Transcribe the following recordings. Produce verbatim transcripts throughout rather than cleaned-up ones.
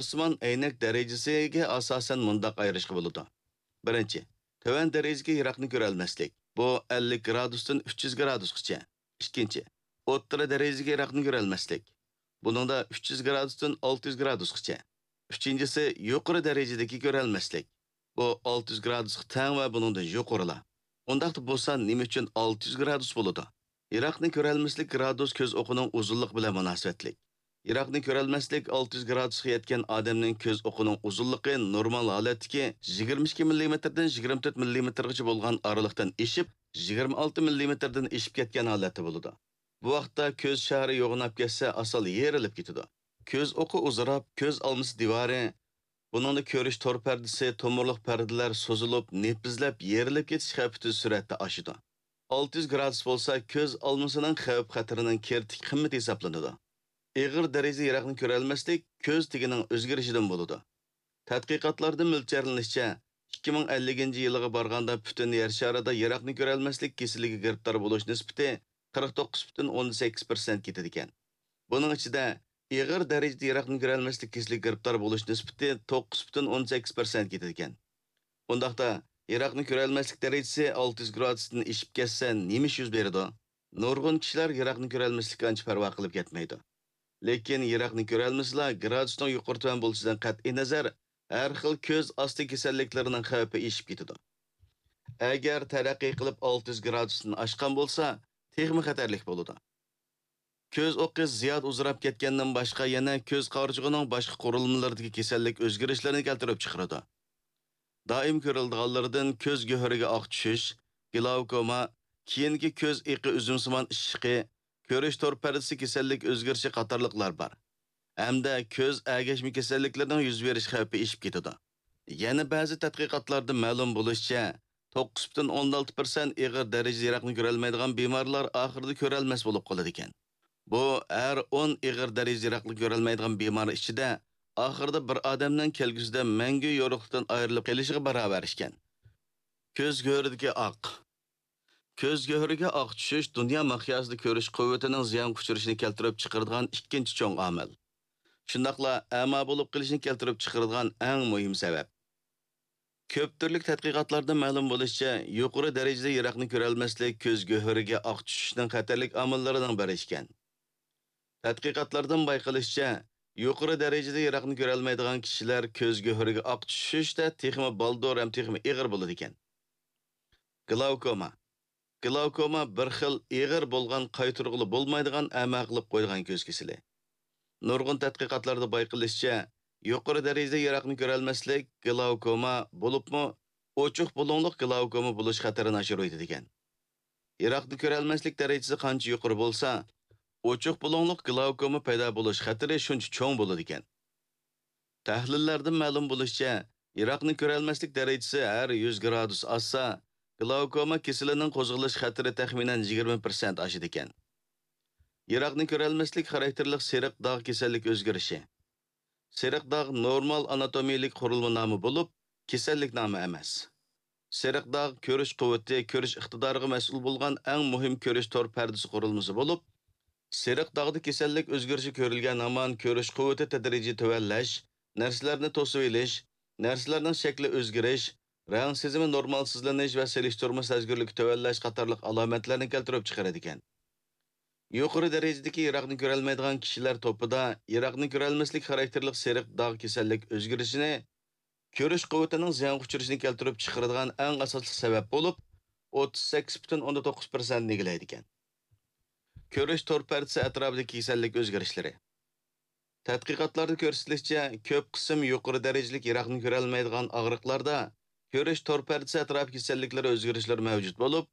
شارسىمان ئەينەك دەرىجىسىگە ئاساسەن مۇنداق ئايرىشقا بولىدۇ. بىرىنچى، تۆۋەن دەرىجىدىكى يىراقنى كۆرەلمەسلىك، بۇ ئەللىك گرادۇستىن ئۈچ يۈز گرادۇسقىچە. ئىككىنچى، ئوتتۇرا دەرىجىدىكى يىراقنى كۆرەلمەسلىك، بۇنىڭدا ئۈچ يۈز گرادۇستىن ئالتە يۈز گرادۇسقىچە. ئۈچىنچىسى، يۇقىرى دەرىجىدىكى كۆرەلمەسلىك، بۇ ئالتە يۈز گرادۇسقا تەڭ ۋە بۇنىڭدىن يۇقىرىلا. ئۇنداقتا بۇ سان نېمە ئۈچۈن ئالتە يۈز گرادۇس بولىدۇ؟ يىراقنى كۆرەلمەسلىك گرادۇس كۆز ئوقىنىڭ ئۇزۇنلۇقى بىلەن مۇناسىۋەتلىك. يىراقنى كۆرەلمەسلىك ئالتە يۈز گرادۇسقا يەتكەن ئادەمنىڭ كۆز ئوقىنىڭ ئۇزۇنلۇقى نورمال ھالەتتىكى يىگىرمە ئىككى مىللىمېتىردىن يىگىرمە تۆت مىللىمېتىرغىچە بولغان ئارىلىقتىن ئېشىپ، يىگىرمە ئالتە مىللىمېتىردىن ئېشىپ كەتكەن ھالەتتە بولىدۇ. بۇ ۋاقىتتا كۆز شارى يوغىناپ كەتسە، ئاسان يېرىلىپ كېتىدۇ. كۆز ئوقى ئۇزىراپ، كۆز ئالمىسى دىۋارى، بۇنىڭدا كۆرۈش تور پەردىسى، تومۇرلۇق پەردىلەر سوزۇلۇپ، نېپىزلەپ، يېرىلىپ كېتىش خەۋپى تېز سۈرئەتتە ئاشىدۇ. ئالتە يۈز گرادۇس بولسا كۆز ئالمىسىنىڭ خەۋپ خەتىرىنىڭ كىرىتىك قىممىتى ھېسابلىنىدۇ. ئېغىر دەرىجىدە يىراقنى كۆرەلمەسلىك كۆز تېگىنىڭ ئۆزگىرىشىدىن بولىدۇ. تەتقىقاتلاردا مۆلچەرلىنىشىچە، ئىككى مىڭ ئەللىكىنچى يىلىغا بارغاندا پۈتۈن يەر شارىدا يىراقنى كۆرەلمەسلىك كېسىلىگە گىرىپتار بولۇش نىسبىتى قىرىق توققۇز پۈتۈن ئوندىن سەككىز پىرسەنت كېتىدىكەن. بۇنىڭ ئىچىدە ئېغىر دەرىجىدە يىراقنى كۆرەلمەسلىك كېسىلىگە گىرىپتار بولۇش نىسبىتى توققۇز پۈتۈن ئوندىن سەككىز پىرسەنت كېتىدىكەن. ئۇنداقتا، يىراقنى كۆرەلمەسلىك دەرىجىسى ئالتە يۈز گرادۇستىن ئېشىپ كەتسە، نېمە ئىش يۈز بېرىدۇ؟ نۇرغۇن كىشىلەر يىراقنى كۆرەلمەسلىككە ئانچە پەرۋا قىلىپ كەتمەيدۇ. لېكىن يىراقنى كۆرەلمىسىلا، گرادۇسنىڭ يۇقىرى تۆۋەن بولۇشىدىن قەتئىينەزەر، ھەر خىل كۆز ئاستى كېسەللىكلىرىنىڭ خەۋپى ئېشىپ كېتىدۇ. ئەگەر تەرەققىي قىلىپ ئالتە يۈز گرادۇستىن ئاشقان بولسا، تېخىمۇ خەتەرلىك بولىدۇ. كۆز ئوقى زىيادە ئۇزىراپ كەتكەندىن باشقا، يەنە كۆز قارىچۇقىنىڭ باشقا قۇرۇلمىلىرىدىكى كېسەللىك ئۆزگىرىشلىرىنى كەلتۈرۈپ چىقىرىدۇ. دائىم كۆرۈلىدىغانلىرىدىن كۆز گۆھىرىگە ئاق چۈشۈش، گلاۋكوما، كېيىنكى كۆز ئېقى ئۈزۈمسىمان ئىششىقى، كۆرۈش تور پەردىسى كېسەللىك ئۆزگىرىشى قاتارلىقلار بار. ھەمدە كۆز ئەگەشمە كېسەللىكلىرىنىڭ يۈز بېرىش خەۋپى ئېشىپ كېتىدۇ. يەنە بەزى تەتقىقاتلاردا مەلۇم بولۇشىچە، توققۇز پۈتۈن ئوندىن ئالتە پىرسەنت ئېغىر دەرىجىدە يىراقنى كۆرەلمەيدىغان بىمارلار ئاخىرىدا كۆرەلمەس بولۇپ قالىدىكەن. بۇ ھەر ئون ئېغىر دەرىجىدە يىراقنى كۆرەلمەيدىغان بىمار ئىچىدە ئاخىرىدا بىر ئادەمنىڭ كەلگۈسىدە مەڭگۈ يورۇقلۇقتىن ئايرىلىپ قېلىشىغا باراۋەر ئىكەن. كۆز گۆھىرىدىكى ئاق. كۆز گۆھىرىگە ئاق چۈشۈش دۇنيا مىقياسىدا كۆرۈش قۇۋۋىتىنىڭ زىيانغا ئۇچرىشىنى كەلتۈرۈپ چىقىرىدىغان ئىككىنچى چوڭ ئامىل. شۇنداقلا ئەما بولۇپ قېلىشنى كەلتۈرۈپ چىقىرىدىغان ئەڭ مۇھىم سەۋەب. كۆپ تۈرلۈك تەتقىقاتلاردىن مەلۇم بولۇشىچە، يۇقىرى دەرىجىدە يىراقنى كۆرەلمەسلىك كۆز گۆھىرىگە ئاق چۈشۈشنىڭ خەتەرلىك ئامىللىرىنىڭ بىرى ئىكەن. تەتقىقاتلاردىن بايقىلىشىچە، يۇقىرى دەرىجىدە يىراقنى كۆرەلمەيدىغان كىشىلەر كۆز گۆھىرىگە ئاق چۈشۈشتە تېخىمۇ بالدۇر ھەم تېخىمۇ ئېغىر بولىدىكەن. گلاۋكوما. گلاۋكوما بىر خىل ئېغىر بولغان، قايتۇرغىلى بولمايدىغان ئەما قىلىپ قويىدىغان كۆز كېسىلى. نۇرغۇن تەتقىقاتلاردا بايقىلىشىچە، يۇقىرى دەرىجىدە يىراقنى كۆرەلمەسلىك گلاۋكوما، بولۇپمۇ ئوچۇق بۇلۇڭلۇق گلاۋكوما بولۇش خەتىرىنى ئاشۇرۇۋېتىدىكەن. يىراقنى كۆرەلمەسلىك دەرىجىسى قانچە يۇقىرى بولسا، ئوچۇق بۇلۇڭلۇق گلاۋكوما پەيدا بولۇش خەتىرى شۇنچە چوڭ بولىدىكەن. تەھلىللەردىن مەلۇم بولۇشىچە، يىراقنى كۆرەلمەسلىك دەرىجىسى ھەر يۈز گرادۇس ئاشسا، گلاۋكوما كېسىلىنىڭ قوزغىلىش خەتىرى تەخمىنەن يىگىرمە پىرسەنت ئاشىدىكەن. يىراقنى كۆرەلمەسلىك خاراكتېرلىق سېرىق داغ كېسەللىك ئۆزگىرىشى. سېرىق داغ نورمال ئاناتومىيەلىك قۇرۇلما نامى بولۇپ، كېسەللىك نامى ئەمەس. سېرىق داغ كۆرۈش قۇۋۋىتى، كۆرۈش ئىقتىدارىغا مەسئۇل بولغان ئەڭ مۇھىم كۆرۈش تور پەردىسى قۇرۇلمىسى بولۇپ، سېرىق داغدا كېسەللىك ئۆزگىرىشى كۆرۈلگەن ھامان كۆرۈش قۇۋۋىتى تەدرىجىي تۆۋەنلەش، نەرسىلەرنى توسۇۋېلىش، نەرسىلەرنىڭ شەكلى ئۆزگىرىش، رەڭ سېزىمى نورمالسىزلىنىش ۋە سېلىشتۇرما سەزگۈرلۈكى تۆۋەنلەش قاتارلىق ئالامەتلەرنى كەلتۈرۈپ چىقىرىدىكەن. يۇقىرى دەرىجىدىكى يىراقنى كۆرەلمەيدىغان كىشىلەر توپىدا يىراقنى كۆرەلمەسلىك خاراكتېرلىق سېرىق داغ كېسەللىك ئۆزگىرىشىنى كۆرۈش قۇۋۋىتىنىڭ زىيانغا ئۇچرىشىنى كەلتۈرۈپ چىقىرىدىغان ئەڭ ئاساسلىق سەۋەب بولۇپ، ئوتتۇز سەككىز پۈتۈن ئوندىن توققۇز پىرسەنتنى ئىگىلەيدىكەن. كۆرۈش تور پەردىسى ئەتراپىدىكى كېسەللىك ئۆزگىرىشلىرى. تەتقىقاتلاردا كۆرسىتىلىشىچە، كۆپ قىسىم يۇقىرى دەرىجىلىك يىراقنى كۆرەلمەيدىغان ئاغرىقلاردا كۆرۈش تور پەردىسى ئەتراپى كېسەللىكلىرى ئۆزگىرىشلىرى مەۋجۇت بولۇپ،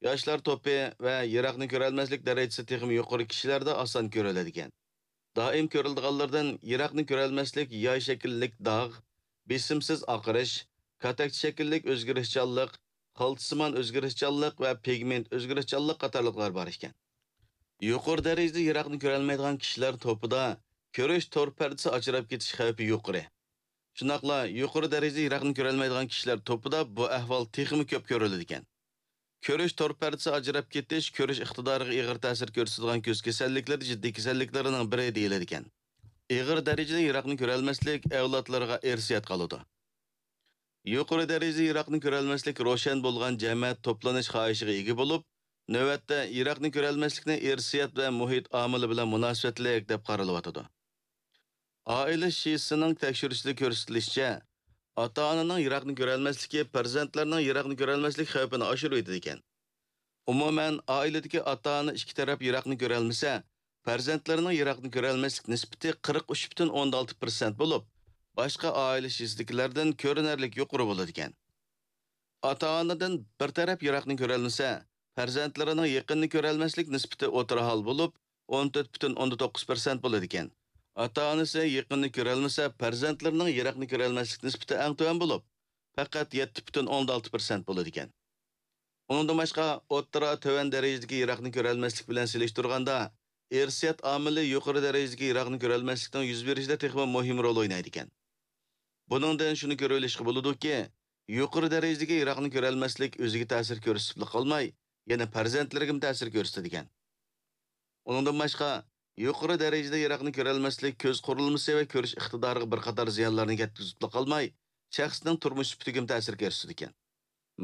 ياشلار توپى ۋە يىراقنى كۆرەلمەسلىك دەرىجىسى تېخىمۇ يۇقىرى كىشىلەردە ئاسان كۆرۈلىدىكەن. دائىم كۆرۈلىدىغانلىرىدىن يىراقنى كۆرەلمەسلىك ياي شەكىللىك داغ، بېسىمسىز ئاقىرىش، كاتەكچە شەكىللىك ئۆزگىرىشچانلىق، خالتىسىمان ئۆزگىرىشچانلىق ۋە پىگمېنت ئۆزگىرىشچانلىق قاتارلىقلار بار ئىكەن. يۇقىرى دەرىجىدە يىراقنى كۆرەلمەيدىغان كىشىلەر توپىدا كۆرۈش تور پەردىسى ئاجراپ كېتىش خەۋپى يۇقىرى. شۇنداقلا يۇقىرى دەرىجىدە يىراقنى كۆرەلمەيدىغان كىشىلەر توپىدا بۇ ئەھۋال تېخىمۇ كۆپ كۆرۈلىدىكەن. كۆرۈش تور پەردىسى ئاجراپ كېتىش كۆرۈش ئىقتىدارىغا ئېغىر تەسىر كۆرسىتىدىغان كۆز كېسەللىكلىرى جىددىي كېسەللىكلەرنىڭ بىرى دېيىلىدىكەن. ئېغىر دەرىجىدە يىراقنى كۆرەلمەسلىك ئەۋلادلارغا ئىرسىيەت قالىدۇ. يۇقىرى دەرىجىدە يىراقنى كۆرەلمەسلىك روشەن بولغان جەمەت توپلىنىش خاھىشىغا ئىگە بولۇپ، نۆۋەتتە يىراقنى كۆرەلمەسلىكنى ئىرسىيەت ۋە مۇھىت ئامىلى بىلەن مۇناسىۋەتلىك دەپ قارىلىۋاتىدۇ. ئائىلە شىسىنىڭ تەكشۈرۈشىدە كۆرسىتىلىشىچە، ئاتا-ئانىنىڭ يىراقنى كۆرەلمەسلىكى پەرزەنتلەرنىڭ يىراقنى كۆرەلمەسلىك خەۋپىنى ئاشۇرۇۋېتىدىكەن. ئومۇمەن، ئائىلىدىكى ئاتا-ئانا ئىككى تەرەپ يىراقنى كۆرەلمىسە، پەرزەنتلىرىنىڭ يىراقنى كۆرەلمەسلىك نىسبىتى قىرىق ئۈچ پۈتۈن ئوندىن ئالتە پىرسەنت بولۇپ، باشقا ئائىلە شىسىدىكىلەردىن كۆرۈنەرلىك يۇقىرى بولىدىكەن. ئاتا-ئانىدىن بىر تەرەپ يىراقنى كۆرەلمىسە، پەرزەنتلىرىنىڭ يېقىننى كۆرەلمەسلىك نىسبىتى ئوتتۇرا ھال بولۇپ، ئون تۆت پۈتۈن ئوندىن توققۇز پىرسەنت بولىدىكەن. ئاتا-ئانىسى يېقىننى كۆرەلمىسە، پەرزەنتلىرىنىڭ يىراقنى كۆرەلمەسلىك نىسبىتى ئەڭ تۆۋەن بولۇپ، پەقەت يەتتە پۈتۈن ئوندىن ئالتە پىرسەنت بولىدىكەن. ئۇنىڭدىن باشقا، ئوتتۇرا، تۆۋەن دەرىجىدىكى يىراقنى كۆرەلمەسلىك بىلەن سېلىشتۇرغاندا، ئىرسىيەت ئامىلى يۇقىرى دەرىجىدىكى يىراقنى كۆرەلمەسلىكنىڭ يۈز بېرىشىدە تېخىمۇ مۇھىم رول ئوينايدىكەن. بۇنىڭدىن شۇنى كۆرۈۋېلىشقا بولىدۇكى، يۇقىرى دەرىجىدىكى يىراقنى كۆرەلمەسلىك ئۆزىگە تەسىر كۆرسىتىپلا قالماي، يەنە پەرزەنتلىرىگىمۇ تەسىر كۆرسىتىدىكەن. ئۇنىڭدىن باشقا، يۇقىرى دەرىجىدە يىراقنى كۆرەلمەسلىك كۆز قۇرۇلمىسى ۋە كۆرۈش ئىقتىدارىغا بىر قاتار زىيانلارنى يەتكۈزۈپلا قالماي، شەخسنىڭ تۇرمۇش سۈپىتىگىمۇ تەسىر كۆرسىتىدىكەن.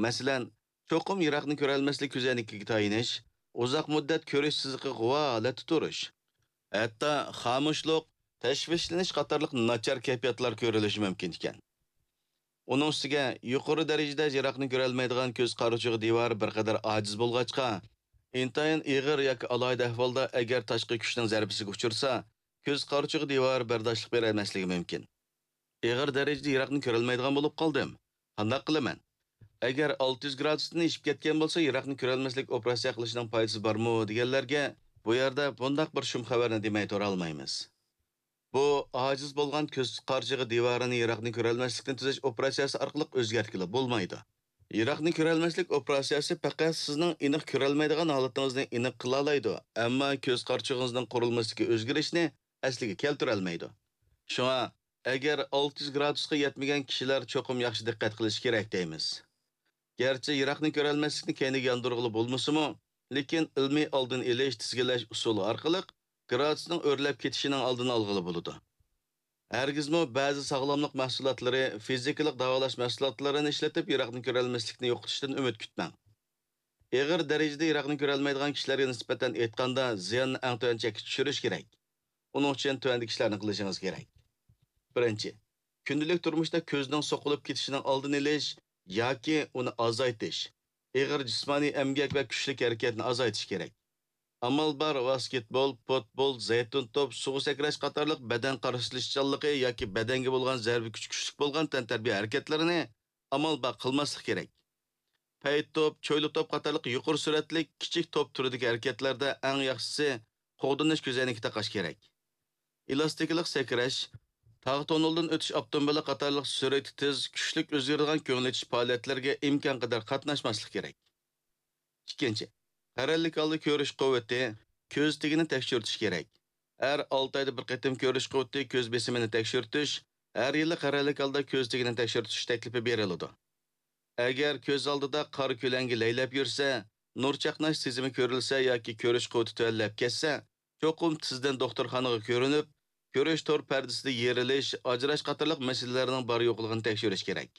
مەسىلەن، چوقۇم يىراقنى كۆرەلمەسلىك كۆزەينىكىگە تايىنىش، ئۇزاق مۇددەت كۆرۈش سىزىقىغا غۇۋا ھالەتتە تۇرۇش، ھەتتا خامۇشلۇق، تەشۋىشلىنىش قاتارلىق ناچار كەيپىياتلار كۆرۈلۈشى مۇمكىن ئىكەن. ئۇنىڭ ئۈستىگە، يۇقىرى دەرىجىدە يىراقنى كۆرەلمەيدىغان كۆز قارىچۇقى دىۋارى بىر قەدەر ئاجىز بولغاچقا، ئىنتايىن ئېغىر ياكى ئالاھىدە ئەھۋالدا ئەگەر تاشقى كۈچنىڭ زەربىسىگە ئۇچرىسا، كۆز قارىچۇقى دىۋارى بەرداشلىق بېرەلمەسلىكى مۇمكىن. ئېغىر دەرىجىدە يىراقنى كۆرەلمەيدىغان بولۇپ قالدىم. قانداق قىلىمەن؟ ئەگەر ئالتە يۈز گرادۇستىن ئېشىپ كەتكەن بولسا، يىراقنى كۆرەلمەسلىك ئوپېراتسىيە قىلىشنىڭ پايدىسى بارمۇ دېگەنلەرگە، بۇ يەردە بۇنداق بىر شۇم خەۋەرنى دېمەي تۇرالمايمىز. بۇ ئاجىز بولغان كۆز قارىچۇقى دىۋارىنى يىراقنى كۆرەلمەسلىكنى تۈزەش ئوپېراتسىيەسى ئارقىلىق ئۆزگەرتكىلى بولمايدۇ. يىراقنى كۆرەلمەسلىك ئوپېراتسىيەسى پەقەت سىزنىڭ ئېنىق كۆرەلمەيدىغان ھالىتىڭىزنى ئېنىق قىلالايدۇ، ئەمما كۆز قارىچۇقىڭىزنىڭ قۇرۇلمىسىدىكى ئۆزگىرىشنى ئەسلىگە كەلتۈرەلمەيدۇ. شۇڭا، ئەگەر ئالتە يۈز گرادۇسقا يەتمىگەن كىشىلەر چوقۇم ياخشى دىققەت قىلىشى كېرەك دەيمىز. گەرچە يىراقنى كۆرەلمەسلىكنى كەينىگە ياندۇرغىلى بولمىسىمۇ، لېكىن ئىلمىي ئالدىنى ئېلىش، تىزگىنلەش ئۇسۇلى ئارقىلىق گرادۇسنىڭ ئۆرلەپ كېتىشىنىڭ ئالدىنى ئالغىلى بولىدۇ. ھەرگىزمۇ بەزى ساغلاملىق مەھسۇلاتلىرى، فىزىكىلىق داۋالاش مەھسۇلاتلىرىنى ئىشلىتىپ يىراقنى كۆرەلمەسلىكنى يوقىتىشتىن ئۈمىد كۈتمەڭ. ئېغىر دەرىجىدە يىراقنى كۆرەلمەيدىغان كىشىلەرگە نىسبەتەن ئېيتقاندا، زىياننى ئەڭ تۆۋەن چەككە چۈشۈرۈش كېرەك. ئۇنىڭ ئۈچۈن تۆۋەندىكى ئىشلارنى قىلىشىڭىز كېرەك. بىرىنچى، كۈندىلىك تۇرمۇشتا كۆزنىڭ سوقۇلۇپ كېتىشىنىڭ ئالدىنى ئېلىش ياكى ئۇنى ئازايتىش، ئېغىر جىسمانىي ئەمگەك ۋە كۈچلۈك ھەرىكەتنى ئازايتىش كېرەك. ئامال بار ۋاسكېتبول، پۇتبول، زەيتۇن توپ، سۇغا سەكرەش قاتارلىق بەدەن قارىشىلىشچانلىقى ياكى بەدەنگە بولغان زەربە كۈچى كۈچلۈك بولغان تەنتەربىيە ھەرىكەتلىرىنى ئامال بار قىلماسلىق كېرەك. پەيت توپ، چويلا توپ قاتارلىق يۇقىرى سۈرئەتلىك، كىچىك توپ تۈرىدىكى ھەرىكەتلەردە ئەڭ ياخشىسى قوغدىنىش كۆزەينىكى تاقاش كېرەك. ئېلاستىكىلىق سەكرەش، تاغ تونۇلدىن ئۆتۈش ئاپتوموبىلى قاتارلىق سۈرئىتى تېز، كۈچلۈك ئۆزگىرىدىغان كۆڭۈل ئېچىش پائالىيەتلىرىگە ئىمكان قەدەر قاتناشماسلىق كېرەك. ئىككىنچى، قەرەللىك ھالدا كۆرۈش قۇۋۋىتى، كۆز تېگىنى تەكشۈرتۈش كېرەك. ئەر ئالتە ئايدا بىر قېتىم كۆرۈش قۇۋۋىتى، كۆز بېسىمىنى تەكشۈرتۈش، ھەر يىلى قەرەللىك ھالدا كۆز تېگىنى تەكشۈرتۈش تەكلىپى بېرىلىدۇ. ئەگەر كۆز ئالدىدا قارا كۆلەڭگە لەيلەپ يۈرسە، نۇر چاقناش سېزىمى كۆرۈلسە ياكى كۆرۈش قۇۋۋىتى تۆۋەنلەپ كەتسە، چوقۇم تېزدىن دوختۇرخانىغا كۆرۈنۈپ، كۆرۈش تور پەردىسىدە يېرىلىش، ئاجراش قاتارلىق مەسىلىلەرنىڭ بار يوقلۇقىنى تەكشۈرۈش كېرەك.